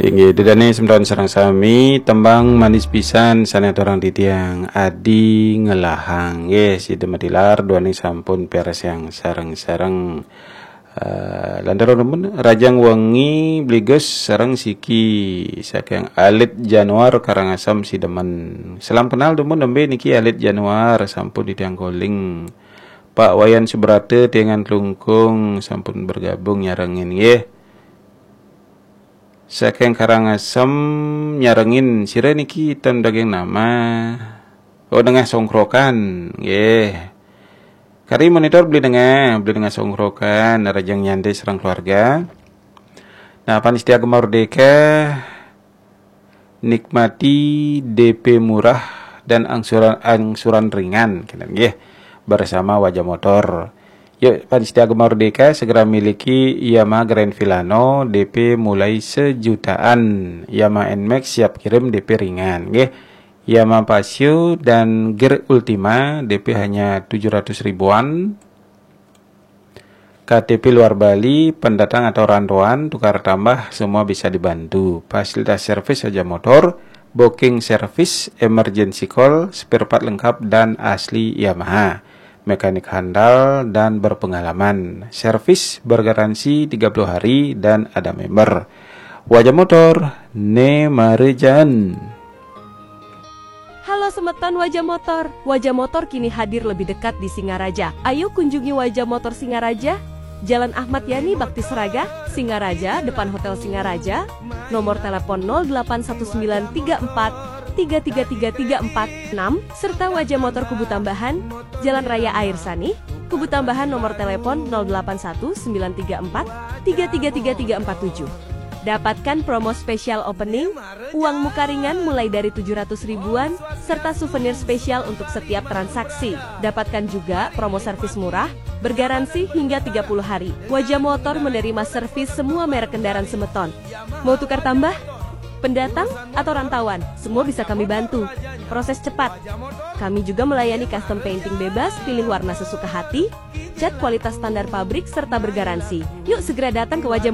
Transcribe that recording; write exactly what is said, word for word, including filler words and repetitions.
Inggih, ida dané semeton sareng sami, tembang manis pisan sané aturang titiang Adi Ngelahang. Nggih, sida matilar duaning sampun piarsayang sareng-sareng. Eh, lantaran dumun Rajang Wengi Bligus sareng Siki saking Alit Januar Karangasem sidemen. Salam kenal dumun, nembé niki Alit Januar sampun titiang calling. Pak Wayan Subrata tiangan Klungkung sampun bergabung nyarengin nggih. Saking Karangasem nyarengin, sira niki ten daging nama. Oh, Nengah Songkrokan. Nggih. Kari monitor Beli Nengah, Beli Nengah Songkrokan, Rajang Nyantai sareng keluarga. Nah, panitia Gema Merdeka, nikmati D P murah dan angsuran angsuran ringan, kenten nggih, bersama Wajah Motor. Yuk, panitia Gema Merdeka segera miliki Yamaha Grand Filano, D P mulai sejutaan. Yamaha Nmax siap kirim, D P ringan, nggih. Yamaha Paseo dan Gear Ultima, D P hanya tujuh ratus ribuan. K T P luar Bali, pendatang atau rantauan, tukar tambah, semua bisa dibantu. Fasilitas servis Wajah Motor, booking service, emergency call, spare part lengkap dan asli Yamaha. Mekanik handal dan berpengalaman. Servis bergaransi tiga puluh hari dan ada member. Wajah Motor, né marejan. Halo semeton Wajah Motor. Wajah Motor kini hadir lebih dekat di Singaraja. Ayo kunjungi Wajah Motor Singaraja, Jalan Ahmad Yani Bakti Seraga, Singaraja, depan Hotel Singaraja. Nomor telepon nol delapan satu sembilan tiga empat tiga tiga tiga tiga empat enam serta Wajah Motor Kubu Tambahan, Jalan Raya Air Sani, Kubu Tambahan, nomor telepon nol delapan satu sembilan tiga empat tiga tiga tiga tiga empat tujuh. Dapatkan promo spesial opening, uang muka ringan mulai dari tujuh ratus ribuan, serta souvenir spesial untuk setiap transaksi. Dapatkan juga promo servis murah, bergaransi hingga tiga puluh hari. Wajah Motor menerima servis semua merek kendaraan semeton. Mau tukar tambah? Pendatang atau rantauan, semua bisa kami bantu. Proses cepat. Kami juga melayani custom painting bebas, pilih warna sesuka hati, cat kualitas standar pabrik, serta bergaransi. Yuk segera datang ke Wajah